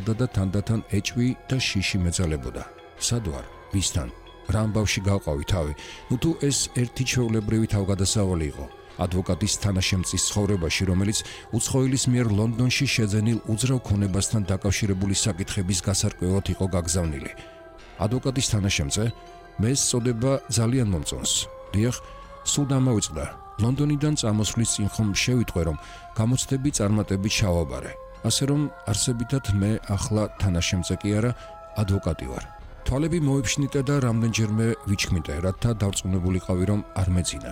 გრძელდა და თანდათან ეჭვი და შიში მეძალებოდა. სად ვარ? ვისთან? რა ამბავში გავყავი თავი? თუ ეს ერთი ჩვეულებრივი თავგადასავალი იყო ადვოკატის თანაშემწის ცხოვრებაში, რომელიც უცხოელის მიერ ლონდონში შეძენილ უძრავ ქონებასთან დაკავშირებული საკითხების გასარკვევად იყო გაგზავნილი. ადვოკატის თანაშემწე მე სწოდება ძალიან მომწონს. დიახ, სულ დამოვიწყდა. ლონდონიდან წამოსვლის წინ ხომ შევიტყვე, რომ გამოცდები წარმატებით ჩავაბარე. ასე რომ არსებითად მე ახლა თანაშემწე კი არა, ადვოკატი ვარ. თვალები მოიფშნიტე და რამდენჯერმე ვიჩქმიტე, რათა დარწმუნებულიყავი, რომ არ მეძინა.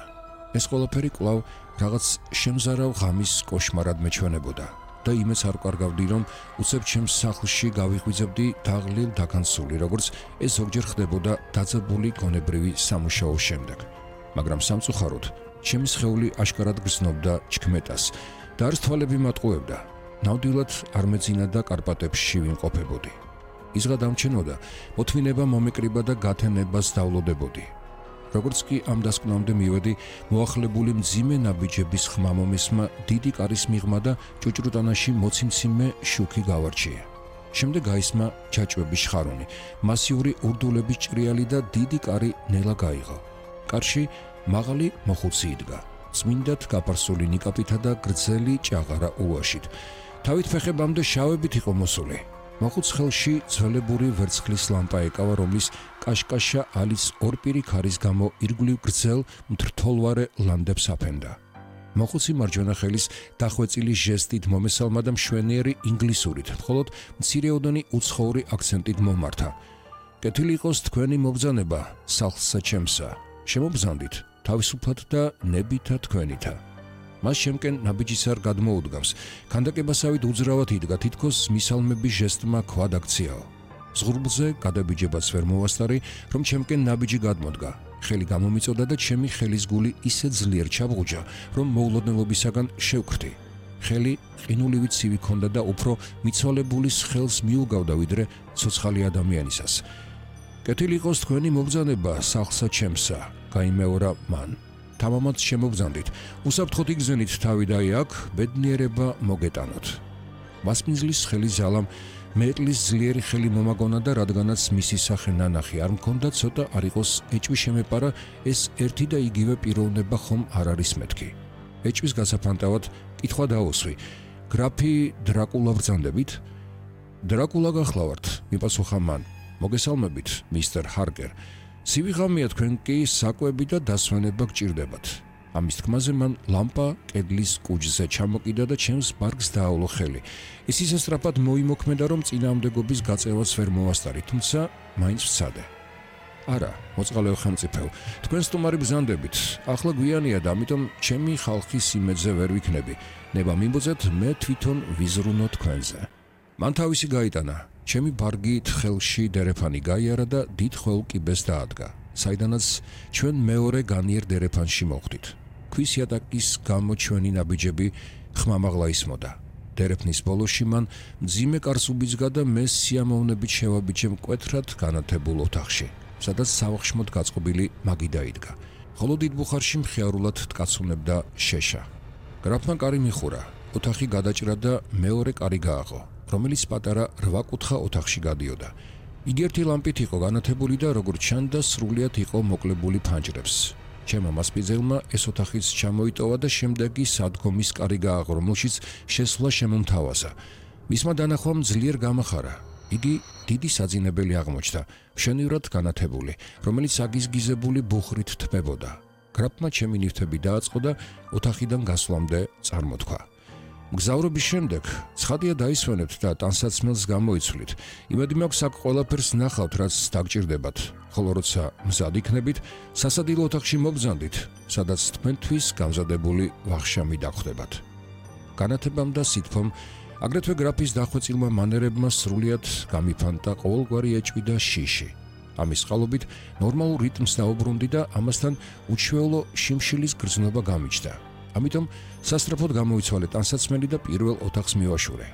ეს ყველაფერი კვლავ რაღაც შემზარავ ღამის კოშმარად მეჩვენებოდა და იმეც არ ვკარგავდი, რომ უცებ ჩემს სახლში გავიღვიძებდი დაღლილ დაგანცული, როგორც ეს ზოგჯერ ხდებოდა დაძაბული გონებრივი სამუშაოს შემდეგ. მაგრამ სამწუხაროდ ჩემი სხეული აშკარად გრძნობდა ჩქმეტას და არც თვალები მატყუებდა. ნამდვილად არ მეძინა და კარპატებში ვიმყოფებოდი. იზღა დამჩენოდა, მოთმინება მომეკრიბა და გათენებას დავლოდებოდი. როგორც კი ამ დასკვნამდე მივედი, მოახლებული მძიმე ნაბიჯების ხმა მომისმა, დიდი კარის მიღმა და ჭუჭრუტანაში მოციმციმე შუქი გავარჩია. შემდეგ გაისმა ჩაჭვების ხარუნი, მასიური ურდულების ჭრიალი და დიდი კარი ნელა გაიღო. კარში მაღალი მოხუცი იდგა, წმინდად გაფარსული ნიკაპითა და გრძელი ჭაღარა უაშით. თავით ფეხებამდე შავებით იყო მოსული. მოხუც ხელში ძველებური ვერცხლის ლამპა ეკავა, რომლის კაშკაშა ალის ორპირი ქარის გამო ირგვლივ გრძელ მთრთოლვარე ლანდებს აფენდა. მოხუცი მარჯვენა ხელის დახვეწილი ჟესტით მომესალმა და მშვენიერი ინგლისურით, მხოლოდ მცირეოდენი უცხოური აქცენტით მომართა. კეთილი იყოს თქვენი მობრძანება, სახლსა ჩემსა. შემობრძანდით, თავისუფლად და ნებითა თქვენითა. მას შემკენ ნაბიჯისარ გადმოუდგამს, ქანდაკებასავით უძრავად იდგა, თითქოს მისალმების ჟესტმა ქვა დაქციაო. ზღურბლზე გადაბიჯებაც ვერ მოვასწარი, რომ ჩემკენ ნაბიჯი გადმოდგა. ხელი გამომიწოდა და ჩემი ხელის გული ისე ძლიერ ჩაბღუჯა, რომ მოულოდნელობისაგან შევკრთი. ხელი ყინულივით ცივი ქონდა და უფრო მიცვალებულის ხელს მიუგავდა, ვიდრე ცოცხალი ადამიანისას. კეთილი იყოს თქვენი მობრძანება, სახლსა ჩემსა, გაიმეორა მან. თამამად შემობრძანდით, უსაფრთხოდ იგზენით თავი და აქ ბედნიერება მოგეტანოთ. მასპინძლის ხელი ზალამ მეტლის ძლიერი ხელი მომაგონა და რადგანაც მისი სახე ნანახი არ მქონდა, ცოტა არ იყოს ეჭვი შემეპარა, ეს ერთი და იგივე პიროვნება ხომ არ არის მეთქი. ეჭვის გასაფანტავად კითხვა დაუსვი, გრაფი დრაკულა ბრძანდებით? დრაკულა გახლავართ, მიპასუხა მან. მოგესალმებით, მისტერ ჰარკერ. ცივი ღამეა, თქვენ კი საკვები და დასვენება გჭირდებათ. ამის თქმაზე მან ლამპა კედლის კუჯზე ჩამოკიდა და ჩემს ბარგს დააავლო ხელი. ის ისე სწრაფად მოიმოქმედა, რომ წინააღმდეგობის გაწევას ვერ მოვასწარი, თუმცა მაინც ვცადე. არა, მოწყალეო ხელმწიფეო, თქვენ სტუმარი ბრძანდებით. ახლა გვიანია და ამიტომ ჩემი ხალხის იმედზე ვერ ვიქნები. ნება მიმბოძეთ, მე თვითონ ვიზრუნო თქვენზე. მან თავისი გაიტანა. ჩემი ბარგით ხელში დერეფანი გაიარა და დიდ ხველკიბეს დაადგა, საიდანაც ჩვენ მეორე განიერ დერეფანში მოხვდით. ქვის იატაკის გამო ჩვენი ნაბიჯები ხმამაღლა ისმოდა. დერეფნის ბოლოში მან მძიმე კარს უბიძგა და მე სიამოვნებით შევაბიჯე მკვეთრად განათებულ ოთახში, სადაც სავახშმოდ გაწყობილი მაგი დაიდგა. ხოლო დიდ ბუხარში მხიარულად tkacunebda შეშა. გრაფმა კარი მიხურა, ოთახი გადაჭრა და მეორე კარი გააღო, რომელიც პატარა 8 კუთხა ოთახში გადიოდა. იგი ერთი ლამპით იყო განათებული და როგორც ჩანდა სრულიად იყო მოკლებული ფანჯრებს. ჩემმა მასპინძელმა ეს ოთახიც ჩამოიტოვა და შემდეგ ის სადგომის კარი გააღო, რომელშიც შესვლა შემომთავაზა. მისმა დანახვამ ძლიერ გამახარა. იგი დიდი საძინებელი აღმოჩნდა, მშვენივრად განათებული, რომელიც აგიზგიზებული ბუხრით თმებოდა. გრაფმა ჩემი ნივთები დააწყო და ოთახიდან გასვლამდე წარმოთქვა. მგზავრობის შემდეგ ცხადია დაისვენებთ და ტანსაცმელს გამოიცვლით. იმედი მაქვს აქ ყველაფერს ნახავთ, რაც დაგჭირდებათ, ხოლო როცა მზად იქნებით, სასადილო ოთახში მობრძანდით, სადაც თქვენთვის გამზადებული ვახშამი დაგხვდებათ. განათებამ და სითფომ, აგრეთვე გრაფის დახვეწილმა მანერებმა სრულიად გამიფანტა ყოველგვარი ეჭვი და შიში. ამის წყალობით ნორმალურ რიტმს დაუბრუნდი და ამასთან უჩვეულო შიმშილის გრძნობა გამიჩნდა. ამიტომ სასწრაფოდ გამოიცვალე ტანსაცმელი და პირველ ოთახს მივაშურე.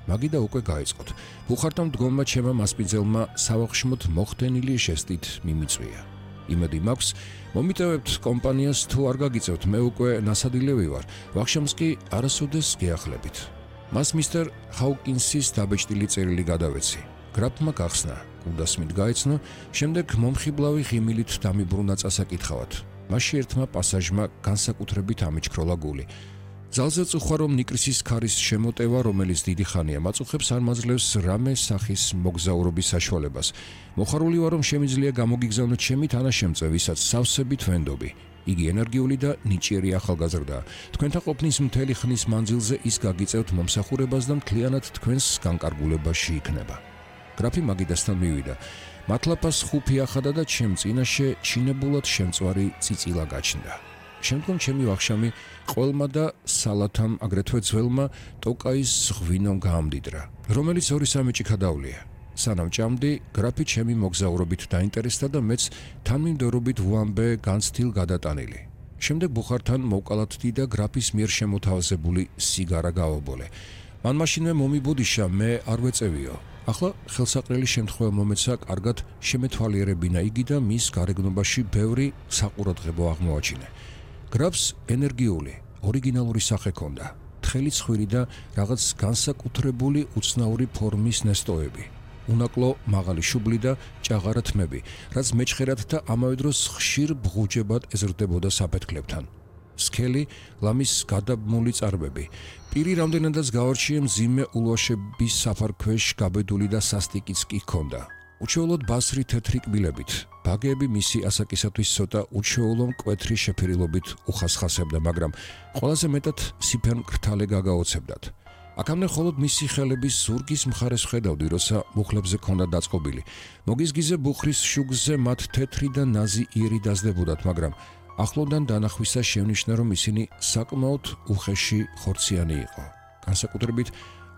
მაგიდა უკვე გაიწყოთ. ბუხართან მდგომმა ჩემმა მასპინძელმა სავახშმოდ მოხდენილი ჟესტით მიმიწვია. იმედი მაქვს, მომიტევებთ კომპანიას თუ არ გაგიწევთ, მე უკვე ნასადილევი ვარ. ვახშამს კი არასოდეს გეახლებით. მას მისტერ ჰაუკინსის დაბეჭდილი წერილი გადავეცი. გრაფმა გახსნა, კუდასმით გაეცნო, შემდეგ მომხიბლავი ღიმილით დამიბრუნა წასაკითხავად. მასში ერთმა პასაჟმა განსაკუთრებით ამიჩქროლა გული. ძალზე წუხვა, რომ ნიკრისის ქარის შემოტევა, რომელიც დიდი ხანია მაწუხებს, არ მაძლევს რამე სახის მოგზაურობის საშუალებას. მოხარული ვარ, რომ შემიძლია გამოგიგზავნოთ ჩემი თანაშემწე, ვისაც სავსებით ვენდობი. იგი ენერგიული და ნიჭიერი ახალგაზრდაა. თქვენთან ყოფნის მთელი ხნის მანძილზე ის გაგიწევთ მომსახურებას და მთლიანად თქვენს განკარგულებაში იქნება. გრაფი მაგიდასთან მივიდა. მათლაფას ხუფი ახადა და ჩემ წინაშე ჩინებულად შემწვარი წიწილა გაჩნდა. შემდგომ ჩემი ვახშამი ყველმა და სალათამ, აგრეთვე ძველმა ტოკაის ღვინომ გაამდიდრა, რომელიც 2-3 ჭიქა დავლია. სანამ ჭამდი, გრაფი ჩემი მოგზაურობით დაინტერესდა და მეც თანმიმდევრობით ვუამბე განცდილ გადატანილი. შემდეგ ბუხართან მოვკალათდი და გრაფის მიერ შემოთავაზებული სიგარა გავაბოლე. მან მაშინვე მომიბოდიშა, მე არ ვეწევიო. ახლა ხელსაყრელი შემთხვევა მომეცა კარგად შემეთვალიერებინა იგი და მის გარეგნობაში ბევრი საყურადღებო აღმოაჩინე. გრაფს ენერგიული, ორიგინალური სახე ჰქონდა, თხელი ცხვირი და რაღაც განსაკუთრებული უცნაური ფორმის ნესტოები. უნაკლო მაღალი შუბლი და ჭაღარა თმები, რაც მეჩხერად და ამავე დროს ხშირ ბღუჯებად ეზრდებოდა საფეთქლებთან. სქელი, ლამის გადაბმული წარბები. პირი რამდენადაც გავარჩიე მძიმე ულვაშების საფარქვეშ გაბედული და სასტიკიც კი ჰქონდა. უჩვეულოდ ბასრი თეთრი კბილებით, ბაგეები მისი ასაკისათვის ცოტა უჩვეულო მკვეთრი შეფერილობით უხასხასებდა, მაგრამ ყველაზე მეტად სიფერმკრთალე გაგაოცებდათ. აქამდე მხოლოდ მისი ხელების ზურგის მხარეს ვხედავდი, როცა მუხლებზე ჰქონდა დაწყობილი. მოგიზგიზე ბუხრის შუგზე მათ თეთრი და ნაზი იერი დაზდებოდათ, მაგრამ ახლოდან დანახვისას შევნიშნა, რომ ისინი საკმაოდ უხეში ხორციანი იყო. განსაკუთრებით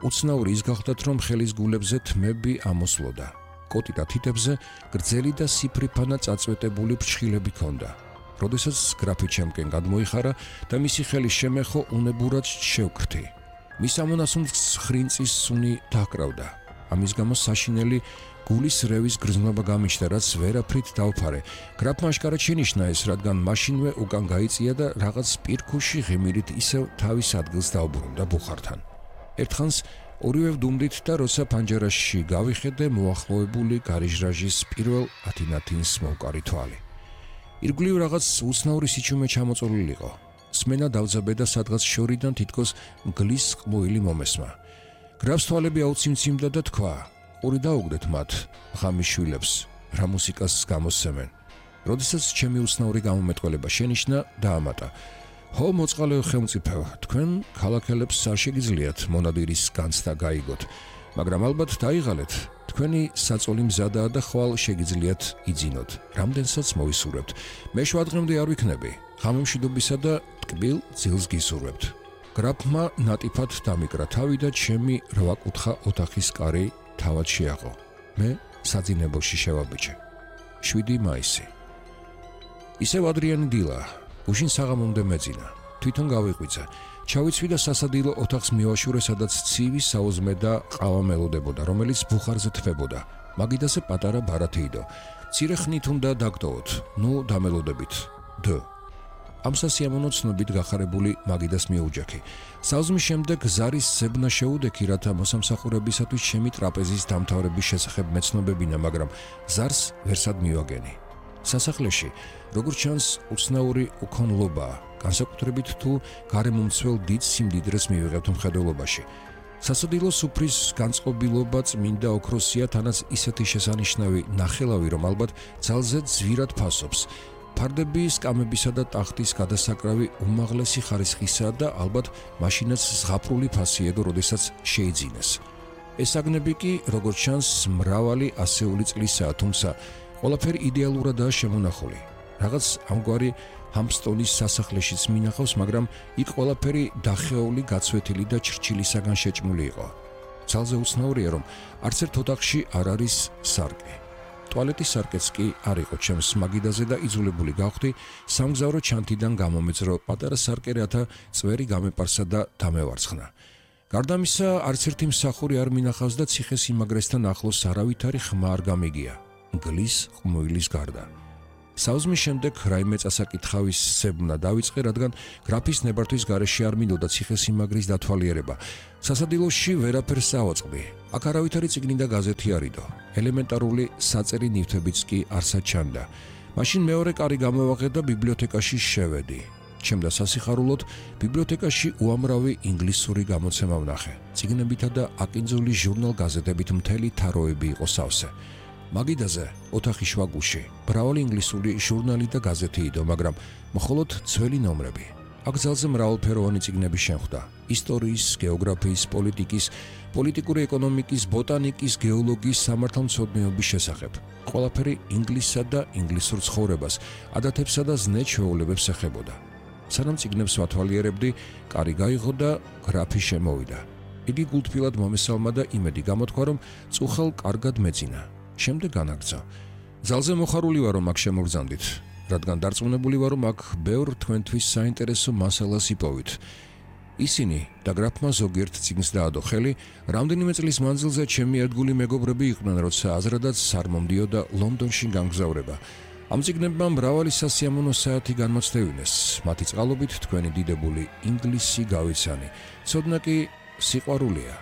უცნაური ის გახლდათ, რომ ხელის გულებზე თმები ამოსვლოდა. კოტი და თითებზე გრძელი და სიფრიფანა წაწვეტებული ფრჩხილები ჰქონდა. როდესაც გრაფი ჩემკენ გადმოიხარა და მისი ხელი შემეხო, უნებურად შევკრთი. მის ამონასუნს ხრინწის სუნი დაკრავდა. ამის გამო საშინელი გულის რევის გრძნობა გამიჩნდა, რაც ვერაფრით დავფარე. გრაფმა აშკარად შენიშნა ეს, რადგან მაშინვე უკან გაიწია და რაღაც პირქუში ღიმილით ისევ თავის ადგილს დაუბრუნდა ბუხართან. ერთხანს ორივე ვდუმდით და როცა პანჯერაში გავიხედე, მოახლოებული გარიჟრაჟის პირველ ათინათინს მოვკარი თვალი. ირგვლივ რაღაც უცნაური სიჩუმე ჩამოწოლილიყო. სმენა დავძაბე და სადღაც შორიდან თითქოს მგლის ყმუილი მომესმა. გრაფს თვალები აუციმციმდა და თქვა: ყური დაუგდეთ მათ, ღამის შვილებს, რა მუსიკას გამოსცემენ. როდესაც ჩემი უცნაური გამომეტყველება შენიშნა, დაამატა: ჰო, მოწყალეო ხელმწიფეო, თქვენ ქალაქელებს არ შეგიძლიათ მონადირის განცდა გაიგოთ, მაგრამ ალბათ დაიღალეთ, თქვენი საწოლი მზადაა და ხვალ შეგიძლიათ იძინოთ, რამდენსაც მოვისურვებთ. მე შვადღემდე არ ვიქნები, ღამემშვიდობისა და ტკბილ ძილს გისურვებთ. გრაფმა ნატიფად დამიკრა თავი და ჩემი 8 კუთხა ოთახის კარი თავად შეაყო. მე საძინებელში შევაბიჯე. 7 მაისი. ისევ ადრიანი დილა. უშინ საღამომდე მეძინა. თვითონ გავიყვიძა. ჩავიცვი და სასადილო ოთახს მივაშურე, სადაც ცივი საუზმე და ყავა მელოდებოდა, რომელიც ბუხარზე თფებოდა. მაგიდაზე პატარა ბარათეიდო. მცირე ხნით უნდა დაგტოვოთ. ნუ დამელოდებით. დ. ამ სასიამოვნო ცნობით გახარებული მაგიდას მიუჯაქი. საუზმის შემდეგ ზარის ზებნა შეუდექი, რათა მოსამსახურებისათვის ჩემი ტრაპეზის დამთავრების შესახებ მეცნობებინა, მაგრამ ზარს ვერსად მივაგენი. სასახლეში, როგორც ჩანს, უცნაური უქონლობაა, განსაკუთრებით თუ გარემომცველ დიდ სიმდიდრეს მივიღებთ მხედველობაში. სასადილო სუფრის განწყობილობა წმინდა ოქროსია, თანაც ისეთი შესანიშნავი ნახელავი, რომ ალბათ ძალზე ძვირად ფასობს. ფარდები, სკამებისა და ტახტის გადასაკრავი უმაღლესი ხარისხისაა და ალბათ მაშინაც ზღაპრული ფასიედო, როდესაც შეიძინეს. ეს აგნები კი, როგორც ჩანს, მრავალი ასეული წლისაა, თუმცა ყველაფერი იდეალურადაა შემონახული. რაღაც ამგვარი ჰამპსტონის სასახლეშიც მინახავს, მაგრამ იქ ყველაფერი დახეეული, გაცვეთილი და ჩრჩილისაგან შეჭმული იყო. ძალზე უცნაურია, რომ არც ერთ ოთახში არ არის სარკე. ტუალეტის სარკეც კი არ იყო ჩემს მაგიდაზე და იძულებული გავხდი სამგზავრო ჩანთიდან გამომეძრო პატარა სარკე, რათა წვერი გამეპარსა და დამევარცხნა. გარდა ამისა, არც ერთი მსახური არ მინახავს და ციხესიმაგრესთან ახლოს არავითარი ხმა არ გამიგია. მგლის ყმუილის გარდა. საუზმის შემდეგ რაიმე წასაკითხავის სებნა დავიწყე, რადგან გრაფის ნებართვის გარეშე არ მინდოდა ციხესიმაგრის დათვალიერება. სასადილოში ვერაფერს ავაწყდი. აქ არავითარი წიგნი და გაზეთი არიდო. ელემენტარული საწერი ნივთებიც კი არსად ჩანდა. მაშინ მეორე კარი გამოვაღე და ბიბლიოთეკაში შევედი. ჩემდა სასიხარულოდ ბიბლიოთეკაში უამრავი ინგლისური გამოცემა ვნახე. წიგნებითა და აკინძული ჟურნალ-გაზეთებით მთელი თაროები იყო სავსე. მაგიდაზე ოთახის შუაგულში მრავალი ინგლისური ჟურნალი და გაზეთი იდო, მაგრამ მხოლოდ ძველი ნომრები. აქ ძალზე მრავალფეროვანი წიგნები შემხვდა: ისტორიის, გეოგრაფიის, პოლიტიკის, პოლიტიკური ეკონომიკის, ბოტანიკის, გეოლოგიის, სამართალმცოდნეობის შესახებ. ყველაფერი ინგლისსა და ინგლისურ ცხოვრებას, ადათებსა და ზნე-ჩვეულებებს ეხებოდა. სანამ წიგნებს ვათვალიერებდი, კარი გაიღო და გრაფი შემოვიდა. იგი გულთბილად მომესალმა და იმედი გამოთქვა, რომ წუხელ კარგად მეძინა. შემდეგ განაგრძო. ძალზე მოხარული ვარ, რომ აქ შემოგზანდით, რადგან დარწმუნებული ვარ, რომ აქ ბევრ თქვენთვის საინტერესო მასალას იპოვით. ისინი და გრაფმა ზოგიერთ წიგნს დაადო ხელი, რამდენიმე წლის მანძილზე ჩემი ერთგული მეგობრები იყვნენ, როცა აზრადაც არ მომდიოდა ლონდონში გამგზავრება. ამ წიგნებმა მრავალი სასიამოვნო საათი განმოცდევინეს, მათი წყალობით თქვენი დიდებული ინგლისი გავიცანი. ცოდნა კი სიყვარულია.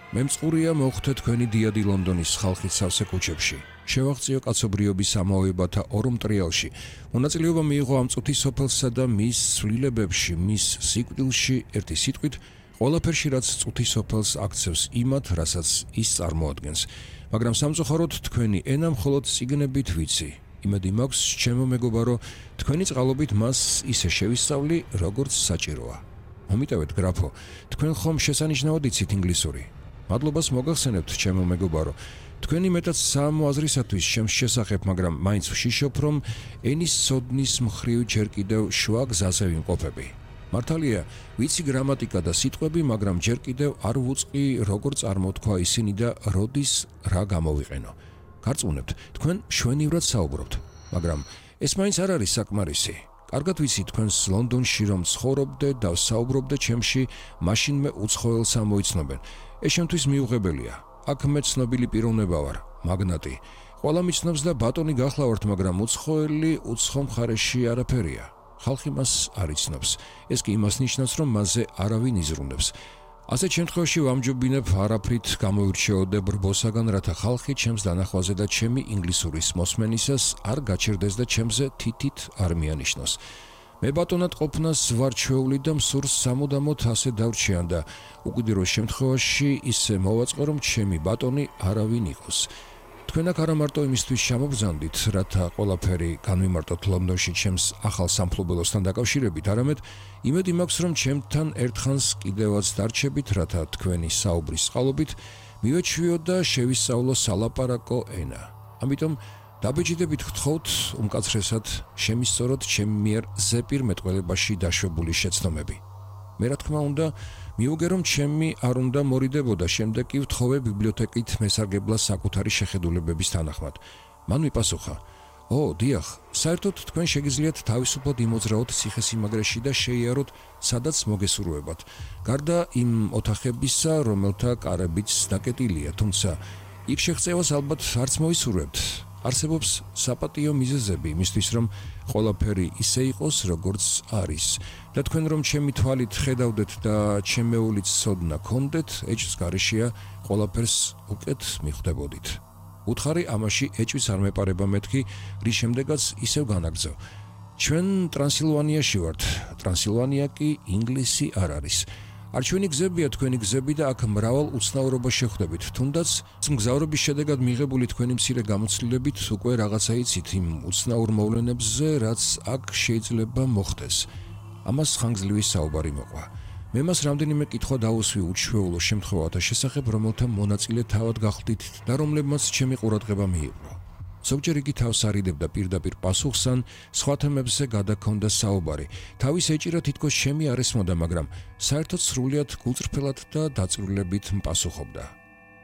მემწყურია მოხვდე თქვენი დიადი ლონდონის ხალხის სავსე ქუჩებში. შევაღწიო კაცობრიობის ამოებათა ორ მტრიალში. მონაწილეობა მიიღო ამ წუთის სოფელსა და მის ცვლილებებში, მის სიკვდილში, ერთი სიტყვით, ყველაფერში, რაც წუთის სოფელს აქცევს იმათ, რასაც ის წარმოადგენს. მაგრამ სამწუხაროდ თქვენი ენა მხოლოდ წიგნებით ვიცი. იმედი მაქვს, ჩემო მეგობარო, თქვენი წყალობით მას ისე შევისწავლი, როგორც საჭიროა. მომიტევეთ, გრაფო, თქვენ ხომ შესანიშნავად იცით ინგლისური? მადლობას მოგახსენებთ, ჩემო მეგობარო. თქვენი მეტად საამო აზრისათვის ჩემს შესახებ, მაგრამ მაინც ვშიშობ, რომ ენის ცოდნის მხრივ ჯერ კიდევ შუა გზაზე ვიმყოფები. მართალია, ვიცი გრამატიკა და სიტყვები, მაგრამ ჯერ კიდევ არ ვუწყი, როგორ წარმოთქვა ისინი და როდის რა გამოვიყენო. გარწმუნებთ, თქვენ მშვენივრად საუბრობთ, მაგრამ ეს მაინც არ არის საკმარისი. კარგად ვიცი თქვენს ლონდონში რომ ცხოვრობდე და საუბრობდე ჩემში, მაშინმე უცხოელს ამოიცნობენ. ეს შემთთვის მიუღებელია. აქ მე ცნობილი პიროვნება ვარ, მაგნატი. ყველა მიცნობს და ბატონი გახლავართ, მაგრამ უცხოელი უცხო მხარეში არაფერია. ხალხი მას არ იცნობს. ეს კი იმას ნიშნავს, რომ მასზე არავინ იზრუნებს. ასეთ შემთხვევაში ვამჯობინებ არაფრით გამოირჩეოდე ბრბოსაგან, რათა ხალხი ჩემს დანახვაზე და ჩემი ინგლისურის მოსმენისას არ გაჩერდეს და ჩემზე თითით არ მიანიშნოს. მე ბატონად ყოფნას ვარ ჩვეული და მსურს სამუდამოდ ასე დავრჩიან და უკიდურეს შემთხვევაში ისე მოვაწყო, რომ ჩემი ბატონი არავინ იყოს. თქვენ აქ არა მარტო იმისთვის შემოგზანდით, რათა ყველაფერი განვიმარტოთ ლონდონში ჩემს ახალ სამფლობელოსთან დაკავშირებით, არამედ იმედი მაქვს, რომ ჩემთან ერთხანს კიდევაც დარჩებით, რათა თქვენი საუბრის წყალობით მივეჩვიო და შევისწავლო სალაპარაკო ენა. ამიტომ დაბეჭდებით გთხოვთ უმკაცრესად შემისწოროთ ჩემი მიერ ზეპირმეტყველებაში დაშვებული შეცდომები. მე რა თქმა უნდა მიუგე რომ ჩემი არ უნდა მორიდებოდა, შემდეგ კი ვთხოვე ბიბლიოთეკით მესარგებლას საკუთარი შეხედულებების თანახმად. მან მიპასუხა: ო, დიახ, საერთოდ თქვენ შეგიძლიათ თავისუფლად იმოძრაოთ ციხესიმაგრეში და შეიაროთ, სადაც მოგესურვებათ. გარდა იმ ოთახებისა, რომელთა კარებიც დაკეტილია, თუმცა იქ შეღწევას ალბათ არც მოისურვებთ. არსებობს საპატიო მიზეზები იმისთვის, რომ ყველაფერი ისე იყოს, როგორც არის. და თქვენ რომ ჩემი თვალით ხედავდეთ და ჩემეულით ცოდნა გქონდეთ, ეჭვს გარეშეა ყველაფერს უკეთ მიხვდებოდით. უთხარი ამაში ეჭვის არ მეპარება მეთქი, რის შემდეგაც ისევ განაგრძო. ჩვენ ტრანსილვანიაში ვართ, ტრანსილვანია კი ინგლისი არ არის. არჩვენი გზებია თქვენი გზები და აქ მრავალ უცნაურობას შეხვდებით. თუნდაც მგზავრობის შედეგად მიღებული თქვენი მცირე გამოცდილებით უკვე რაღაცა იცით იმ უცნაურ მოვლენებზე, რაც აქ შეიძლება მოხდეს. ამას ხანგრძლივი საუბარი მოყვა. მე მას რამდენიმე კითხვა დაუსვი უჩვეულო შემთხვევათა შესახებ, რომელთა მონაწილე თავად გახდით და რომლებმაც ჩემი ყურადღება მიიპყრო. ზოგჯერ იგი თავს არიდებდა პირდაპირ პასუხს ან სხვა თემებზე გადაქონდა საუბარი. თავის ეჭირა თითქოს ჩემი არ ესმოდა, მაგრამ საერთოდ სრულიად გულწრფელად და დაწვრილებით მპასუხობდა.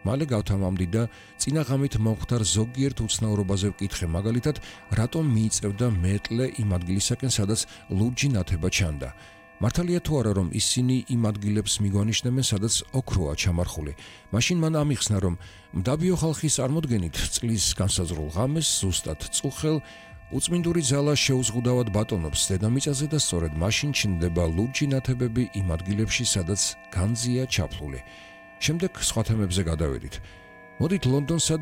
მალე გავთამამდი და წინა ღამით მომხდარ ზოგიერთ უცნაურობაზე ვკითხე, მაგალითად, რატომ მიიწევდა მეტლე იმ ადგილისაკენ, სადაც ლურჯი ნათება ჩანდა. მართალია თუ არა, რომ ისინი იმ ადგილებს მიგვანიშნებენ, სადაც ოქროა ჩამარხული. მაშინ მან ამიხსნა, რომ მდაბიო ხალხის წარმოდგენით წლის განსაზღვრულ ღამეს ზუსტად წუხელ უწმინდური ძალა შეუზღუდავად ბატონობს დედამიწაზე და სწორედ მაშინ ჩნდება ლურჯი ნათებები იმ ადგილებში, სადაც განძია ჩაფლული. შემდეგ სხვა თემებზე გადავედით. მოდით ლონდონსა და